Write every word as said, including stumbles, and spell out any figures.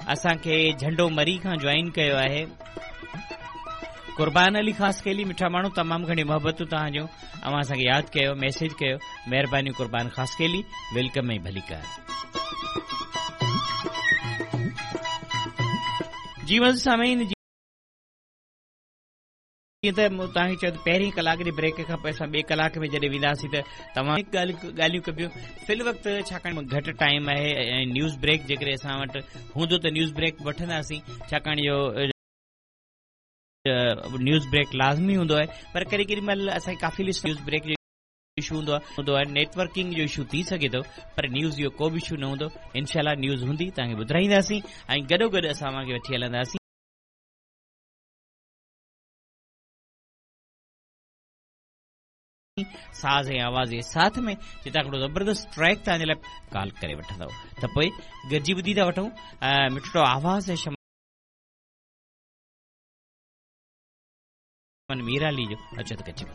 असांखे झंडो मरी खां जॉइन कयो आहे। कुर्बान अली ख़ासकेली मिठा माण्हू, तमामु घणी मोहबतूं तव्हांजो, अव्हां असांखे यादि कयो, मैसेज कयो, महिरबानी कुर्बान ख़ासकेली, welcome ऐं भलीकार। जी सामीन, जीअं त तव्हांखे चयो त पहिरीं कलाक जे ब्रेक खां पोइ असां ॿिए कलाक में जॾहिं वेंदासीं त तव्हां ॻाल्हियूं कबियूं। फिल वक़्तु छाकाणि घटि टाइम आहे ऐं न्यूज़ ब्रेक जेकॾहिं असां वटि हूंदो त न्यूज़ ब्रेक वठंदासीं, छाकाणि जो न्यूज़ ब्रेक लाज़मी हूंदो आहे, पर कॾहिं केॾी महिल असांखे काफ़ी लिस्ट न्यूज़ ब्रेक जो इशू हूंदो आहे हूंदो आहे नेटवर्किंग जो इशू थी सघे थो, पर न्यूज़ जो को बि इशू न हूंदो। इनशाला न्यूज़ हूंदी, तव्हांखे ॿुधाईंदासीं ऐं गॾोगॾु असां तव्हांखे वठी हलंदासीं साज़ ऐं आवाज़ जे साथ में, जितां हिकिड़ो ज़बरदस्त ट्रैक तव्हांजे लाइ कॉल करे वठंदव। त पोइ गॾिजी ॿुधी था वठूं मिठड़ो आवाज़ ऐं शमन मीराली जो। अचो त गॾिजी।